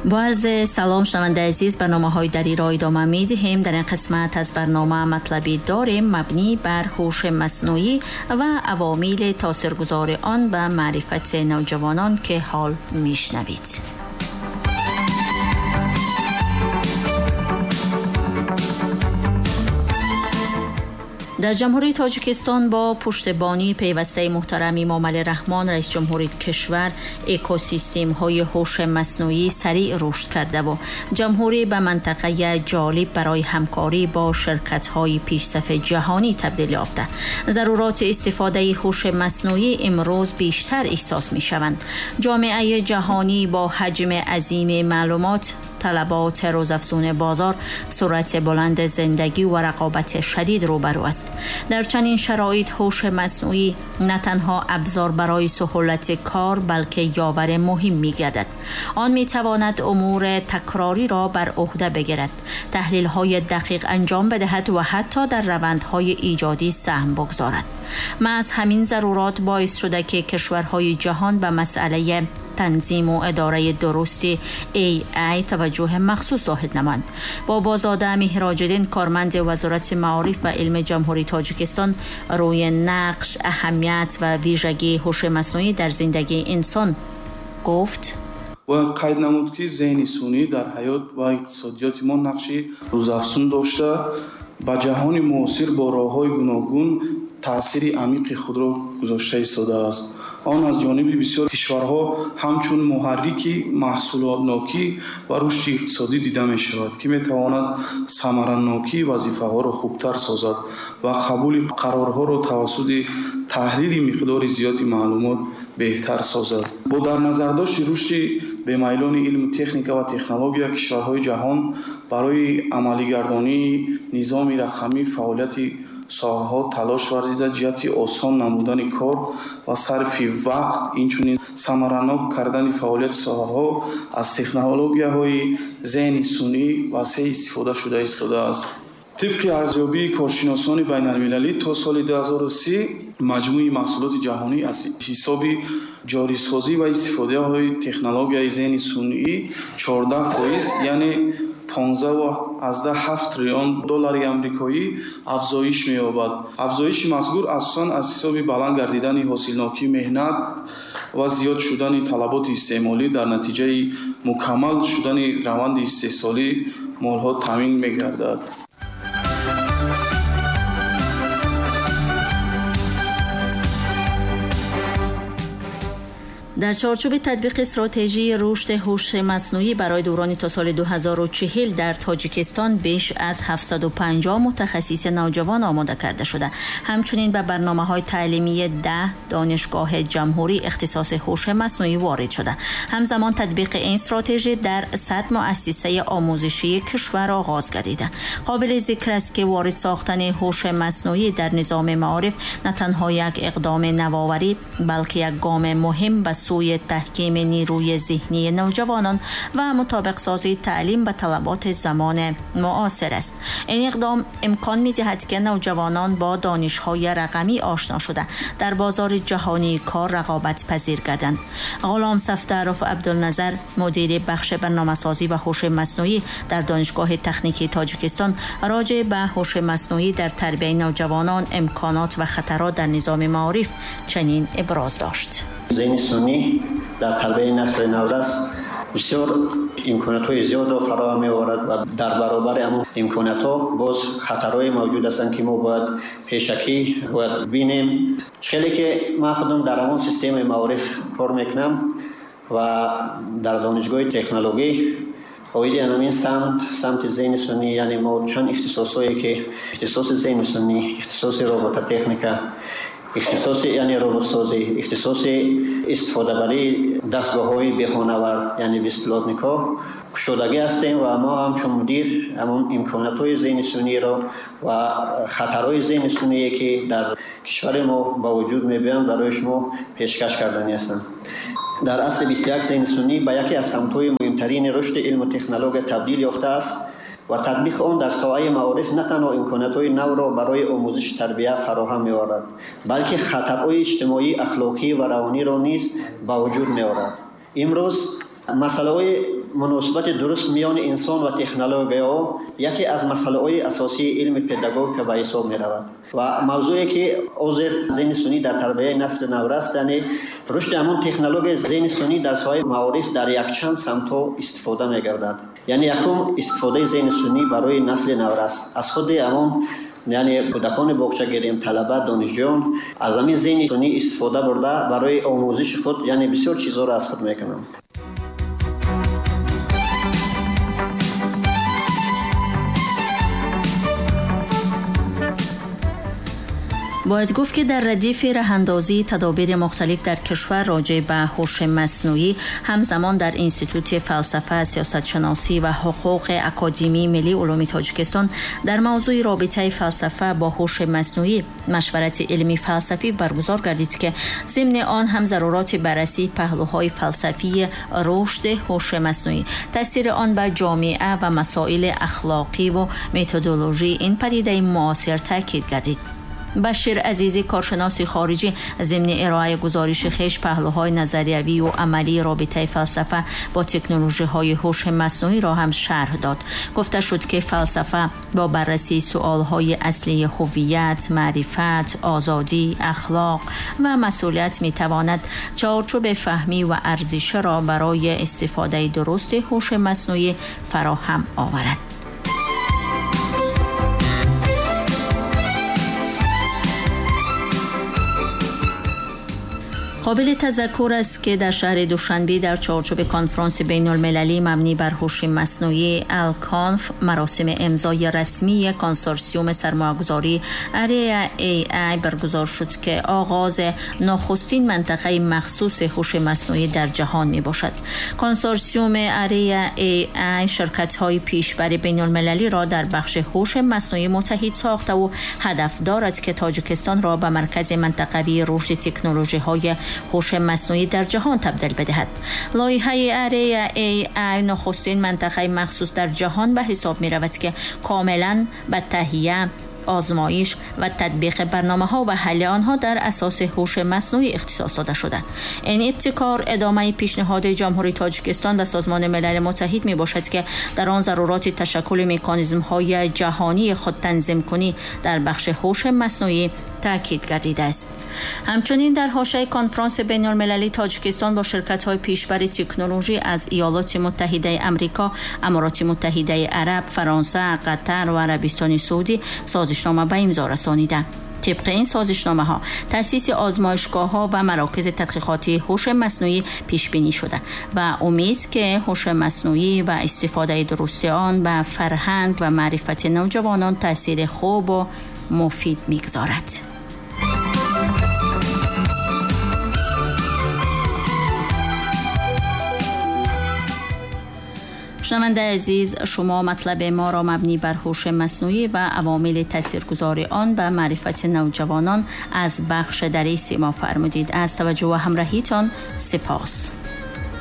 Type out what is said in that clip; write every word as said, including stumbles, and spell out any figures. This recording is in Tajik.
با عرض سلام شنونده عزیز، برنامه‌های دری را ادامه می‌دهیم. در این قسمت از برنامه مطلبی داریم مبنی بر هوش مصنوعی و عوامل تاثیرگذار آن به معرفت نوجوانان که حال می‌شنوید. در جمهوری تاجیکستان با پشتیبانی پیوسته محترم امامعلی رحمان رئیس جمهوری کشور، اکوسیستم های هوش مصنوعی سریع رشد کرده و جمهوری به منطقه جالب برای همکاری با شرکت های پیشصف جهانی تبدیل یافته. ضرورات استفاده هوش مصنوعی امروز بیشتر احساس می شوند. جامعه جهانی با حجم عظیم معلومات، طلبات روزافزون بازار، سرعت بلند زندگی و رقابت شدید روبرو است. در چنین شرایط هوش مصنوعی نه تنها ابزار برای سهولت کار بلکه یاور مهم می‌گردد. آن می‌تواند امور تکراری را بر عهده بگیرد، تحلیل‌های دقیق انجام بدهد و حتی در روندهای ایجادی سهم بگذارد. محض همین ضرورات باعث شده که کشورهای جهان به مسئله تنظیم و اداره درست ای آی توجه مخصوص ظاهر نمایند. بابازاده مهراجدین، کارمند وزارت معارف و علم جمهوری تاجیکستان، روی نقش، اهمیت و ویژگی هوش مصنوعی در زندگی انسان گفت: باید قید نمود که ذهن سونی در حیات و اقتصادیات ما نقشی روزافزون داشته، به جهان معاصر با راه‌های گوناگون تأثیر عمیق خود را گذاشته ایستاده است. آن از جانب بسیار کشورها همچون محرک محصولاتناکی و رشد اقتصادی دیده می شود که می تواند ثمرناکی وظیفه ها را خوبتر سازد و قبول قرارها را توسط تحلیل مقدار زیادی معلومات بهتر سازد. با در نظر داشت رشد بی‌میلان علم تکنیک و تکنولوژی کشورهای جهان برای عملی گردانی نظام رقمی فعالیت соҳаҳо талош варзида ҷиҳати осон намудани кор ва сарфи вақт, инчунин самаранок кардани фаъолияти соҳаҳо аз технологияҳои зеҳни сунъӣ васеъ истифода шуда истодааст. Тибқи арзёбии коршиносони байналмилалӣ то соли ду ҳазору си маҷмӯи маҳсулоти ҷаҳонӣ аз ҳисоби ҷорисозӣ ва истифодаҳои технологияи зеҳни сунъӣ чордаҳ фоиз, яъне понздаҳ аз даҳ ҳафт триллион доллари амрикоӣ афзоиш меёбад. Афзоиши мазкур асосан аз ҳисоби баланд гардидани ҳосилнокии меҳнат ва зиёд шудани талаботи истеъмолӣ дар натиҷаи мукаммал шудани раванди истеҳсолии молҳо таъмин мегардад. در چارچوب تطبیق استراتژی رشد هوش مصنوعی برای دوران تا سال دو هزار و چهل در تاجیکستان بیش از هفتصد و پنجاه متخصص نوجوان آماده کرده شده. همچنین به برنامه‌های تعلیمی ده دانشگاه جمهوری اختصاص هوش مصنوعی وارد شده. همزمان تطبیق این استراتژی در صد مؤسسه آموزشی کشور آغاز گردیده. قابل ذکر است که وارد ساختن هوش مصنوعی در نظام معارف نه تنها یک اقدام نوآوری بلکه یک گام مهم به سوی تحکیم نیروی ذهنی نوجوانان و مطابق سازی تعلیم به طلبات زمان معاصر است. این اقدام امکان می‌دهد که نوجوانان با دانش‌های رقمی آشنا شده در بازار جهانی کار رقابت پذیر گردند. غلام صفدرов عبدالنظر، مدیر بخش برنامه‌سازی و هوش مصنوعی در دانشگاه تکنیکی تاجیکستان، راجع به هوش مصنوعی در تربیت نوجوانان، امکانات و خطرات در نظام معارف چنین ابراز داشت: ذهن سنی در تربیت نسل نورس بسیار امکانات‌های زیاد را فراهم می‌آورد و در برابر همون امکانات‌ها باز خطرهای موجود هستند که ما باید پیشکی باید بینیم. خیلی که من خودم در همون سیستم معارف کار میکنم و در دانشگاه تکنولوژی عاید همین سمت سمت ذهن سنی، یعنی ما چند اختصاصایی که اختصاص ذهن سنی، اختصاص ربات تکنیک، اختصاص یعنی ربات‌سازی، اختصاص استفاده برای دستگاه‌های بهانه‌ورد یعنی بیسپلاتنیکا کشودگی هستیم و ما هم چون مدیر همون امکانات‌های ذهن سنی را و خطرهای ذهن سنی که در کشور ما با وجود می‌بینند برای شما پیشکش کردنی هستند. در عصر بیست و یک ذهن سنی به یکی از سمت‌های مهمترین رشد علم و تکنولوژی تبدیل یافته است و تطبیق آن در ساحه معارف نه تنها امکانات‌های نو را برای آموزش تربیت فراهم می‌آورد، بلکه خطرهای اجتماعی، اخلاقی و روانی را نیز به وجود می‌آورد. امروز مسئله‌های муносибати дуруст миёни инсон ва технологияҳо яке аз масъалаҳои асосии илми педагогика ба ҳисоб меравад ва мавзӯе ки ҳозир зеҳни сунъӣ дар тарбияи насли наврас, яъне рушди ҳамон технологияи зеҳни сунъӣ дар соҳаи маориф дар якчанд самтҳо истифода мегардад. Яъне якум истифодаи зеҳни сунъӣ барои насли наврас аз худи ҳамон, яъне кӯдакони боғча гирем, талаба, донишҷӯён аз ҳамин зеҳни сунъӣ истифода бурда барои омӯзиши худ, яъне бисёр чизҳоро аз худ мекунанд. Бояд гуфт, ки дар радифи раҳандозии тадобири мухталиф дар кишвар роҷеъ ба ҳуши маснӯӣ, ҳамзамон дар Институти фалсафа, сиёсатшиносӣ ва ҳуқуқи Академияи миллии улуми Тоҷикистон дар мавзӯи робитаи фалсафа бо ҳуши маснӯӣ машварати илмии фалсафӣ баргузор гардид, ки зимни он ҳам заруроти баррасии паҳлӯҳои фалсафии рушди ҳуши маснӯӣ, таъсири он ба ҷомеа ва масоили ахлоқӣ ва методологии ин падидаи муосир таъкид гардид. Башир Азизӣ, коршиноси хориҷӣ, зимни ироаи гузориши хеш паҳлӯҳои назариявӣ ва амалии робитаи фалсафа бо технологияҳои ҳуши маснӯиро ҳам шарҳ дод. Гуфта шуд, ки фалсафа бо баррасии суолҳои аслии ҳувият, маърифат, озодӣ, ахлоқ ва масъулият метавонад чаҳорчӯби фаҳмӣ ва арзиширо барои истифодаи дурусти ҳуши маснӯӣ фароҳам оварад. Қобили тазаккур аст, ки дар шаҳри Душанбе дар чаҳорчӯби конфронси байналмилалӣ мабнӣ бар ҳуши маснӯӣ Алконф маросими имзои расмии консорсиуми сармоягузорӣ Area эй ай баргузор шуд, ки оғози нахустин минтақаи махсуси ҳуши маснӯӣ дар ҷаҳон мебошад. Консорсиуми Area эй ай ширкатҳои пешбари байналмилалиро дар бахши ҳуши маснӯӣ муттаҳид сохта ва ҳадаф дорад, ки Тоҷикистонро ба маркази минтақавии рушди технологияҳои ҳуши маснӯӣ дар ҷаҳон табдил бидиҳад. Лоиҳаи Area эй ай нахустин минтақаи махсус дар ҷаҳон ба ҳисоб меравад, ки комилан ба таҳия, озмоиш ва татбиқи барномаҳо ва ҳалли онҳо дар асоси ҳуши маснӯӣ ихтисос дода шуда. Ин ибтикор идомаи пешниҳоди Ҷумҳурии Тоҷикистон ба Созмони Милали Муттаҳид мебошад, ки дар он заруроти ташаккули меканизмҳои ҷаҳонии худтанзимкунӣ дар бахши ҳуши маснӯӣ таъкид гардидааст. Ҳамчунин дар ҳошияи конфронси байналмилалии Тоҷикистон бо ширкатҳои пешбари технология аз Иёлоти Муттаҳидаи Амрико, Амороти Муттаҳидаи Араб, Фаронса, Қатар ва Арабистони Саудӣ созишнома ба имзо расонида. Тибқи ин созишномаҳо таъсиси озмоишгоҳҳо ва марокизи тадқиқотии ҳуши маснӯӣ пешбинӣ шуда ва умед ки ҳуши маснӯӣ ва истифодаи дурусти он ба фарҳанг ва маърифати навҷавонон таъсири хубу муфид мегузорад. Шунавандаи азиз, шумо матлаби моро мабнӣ бар ҳуши маснӯӣ ва авомили таъсиргузори он ба маърифати навҷавонон аз бахши дари симо фармудид. Аз таваҷҷӯҳ ва ҳамроҳитон сипос.